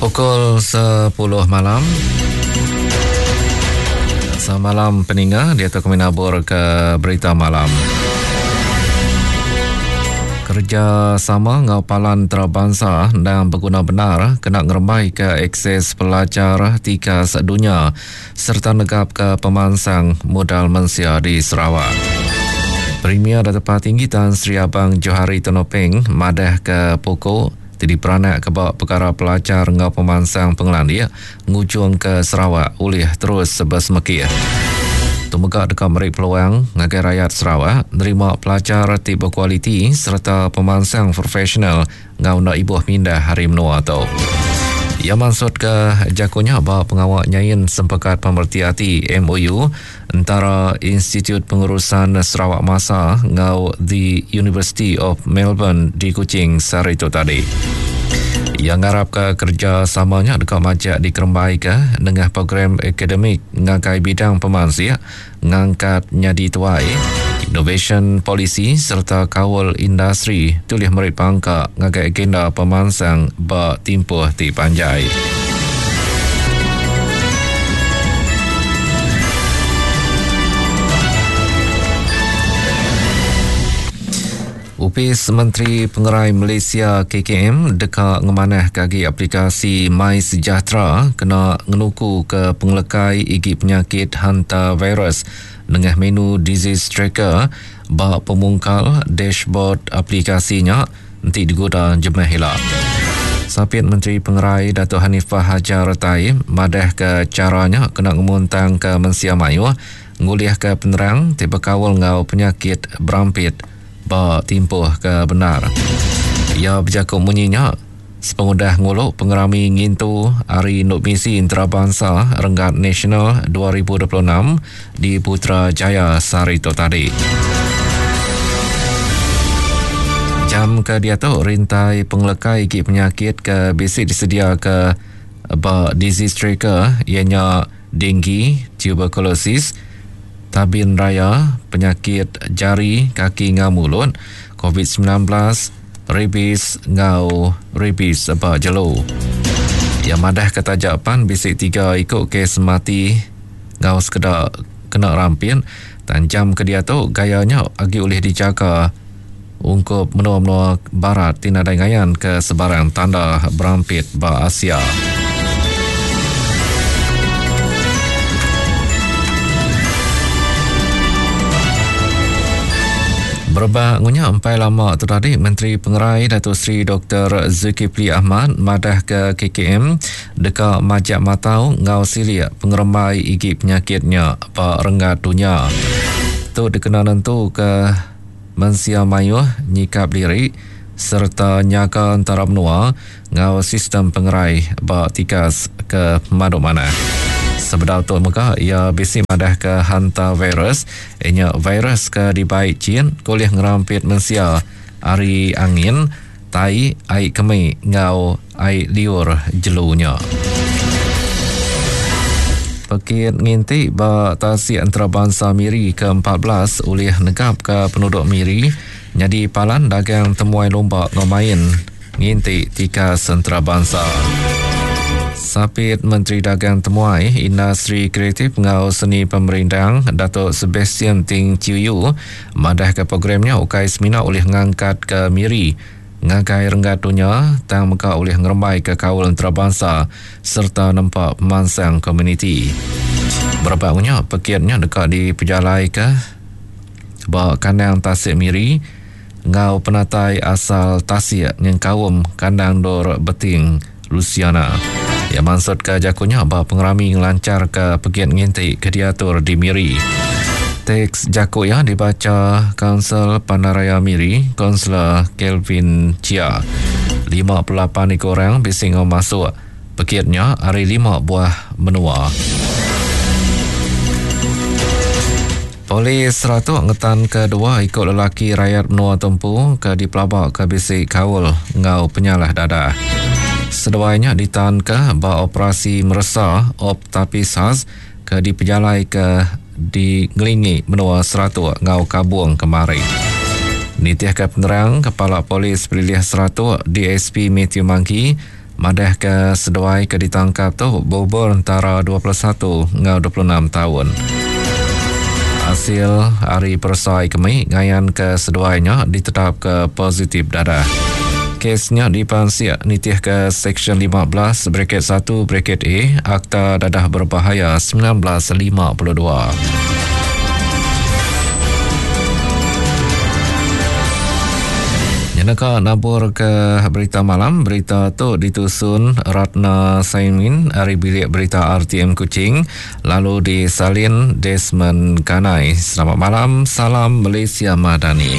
Pukul 10 malam. Semalam peninga dia tu kami nabur ke berita malam. Kerja sama ngau palan antarabangsa endang beguna benar kena ngerembai ke akses pelajar tikas dunya sereta negapka pemansang modal mensia di Sarawak. Premier Datuk Patinggi Tan Sri Abang Johari Tun Openg madahka puku ti diperanakka ba pekara pelajar enggau pemansang pengelandik ngujungka Sarawak ulih terus besemekih. Tu mega deka meri peluang ngagai rayat Sarawak nerima pelajar ti bekualiti sereta pemansang profesional enggau enda ibuh mindah ari menua tu. Iya mansutka jaku nya ba pengawa nyain Sempekat Pemereti Ati, MOU, entara Institut Pengurusan Sarawak Masa enggau The University of Melbourne di Kuching sehari tu tadi. Iya ngarapka kerejasama nya deka majak dikerembaika nengah program akademik ngagai bidang pemansik ngangkat nyadi tuai, inovasyen polisi sereta kaul industri ti ulih meri pangka ngagai agenda pemansang ba timpuh ti panjai. Opis Menteri Pengerai Malaysia KKM deka ngemanahka agi aplikasi MySejahtera kena ngenukuka pengelekai igi penyakit hantavirus nengah menu Disease Tracker ba pemungkal dashboard aplikasi nya enti diguda jemah ila. Sapit Menteri Pengerai Datuk Hanifah Hajar Taib madahka chara nya kena ngemuntangka mensia mayuh ngulihka penerang ti bekaul enggau penyakit berampit ba timpuh ke bendar. Iya bejaku munyi nya sepengudah ngulu pengerami ngintu Hari Indu Misi Entarabansa Renggat Nasional 2026 di Putrajaya sehari tu tadi. Jam ke diatu rintai pengelekai igi penyakit ke bisi disediaka ba Disease Tracker iya nya denggi, tuberkulosis, tabin raya, penyakit jari, kaki enggau mulut, covid 19, rabies enggau rabies ba jelu. Iya madahka taja pan bisi tiga iku kes mati enggau sekeda kena rampit, tang jam ke diatu gaya nya agi ulih dijaga ungkup menua-menua barat ti nadai ngayanka sebarang tanda berampit ba Asia. Berebak ngunya empai lama tu tadi Menteri Pengerai Datuk Seri Dr. Zulkifli Ahmad madahka KKM deka majak matau enggau silik pengerembai igi penyakit nya ba renggat dunya. Tu dikena nentuka Mensia mayuh nyikap diri sereta nyaga entara menua enggau sistem pengerai ba tikas ke pemadu manah. Sebedau tu mega iya bisi madahka hantavirus iya nya virus ke dibai chin ke ulih ngerampit mensia ari angin, tai, ai kemi enggau ai liur jelu nya. Pekit nginti ba Tasik Entarabansa Miri ke 14 ulih negapka penuduk Miri nyadi palan dagang temuai lumba enggau main nginti tikas entarabansa. Sapit Menteri Dagang Temuai, Industri Kreatif enggau Seni Pemerindang Datuk Sebastian Ting Chiu Yu madahka program nya ukai semina ulih ngangkatka Miri ngagai renggat dunya tang mega ulih ngerembaika kaul entarabansa sereta nempa pemansang komuniti. Berebak nya, pekit nya deka dipejalaika ba kandang Tasik Miri enggau penatai asal tasik nyengkaum kandang endur Beting Lusiana. Iya mansutka jaku nya ba pengerami ngelancharka pekit nginti ke diatur di Miri. Teks jaku iya dibacha Kaunsil Pandaraya Miri, Kaunsilor Kelvin Chia. 58 iku orang bisi enggau masuk pekit nya ari lima buah menua. Polis Saratok ngetanka dua iku lelaki rayat menua tu empu ke dipelabaka bisi kaul enggau penyalah dadah. Seduai nya ditanka ba operasi meresa Op Tapis Khas ke dipejalaika di ngelingi menua Saratok enggau Kabong kemari. Nitihka penerang Kepala Polis Pelilih Saratok DSP Mathew Mangki, Madahka seduai ke ditangkap tu beumur entara 21 enggau 26 taun. Asil ari peresa kemi ngayanka seduai nya ditetapka positif dadah. Kes nya dipansik nitihka Seksyen 15 braket 1 braket A Akta Dadah Berbahaya 1952. Nyeneka nabur ke berita malam, berita tu ditusun Ratna Saimin ari bilik berita RTM Kuching lalu disalin Desmond Kanai. Selamat malam, salam Malaysia Madani.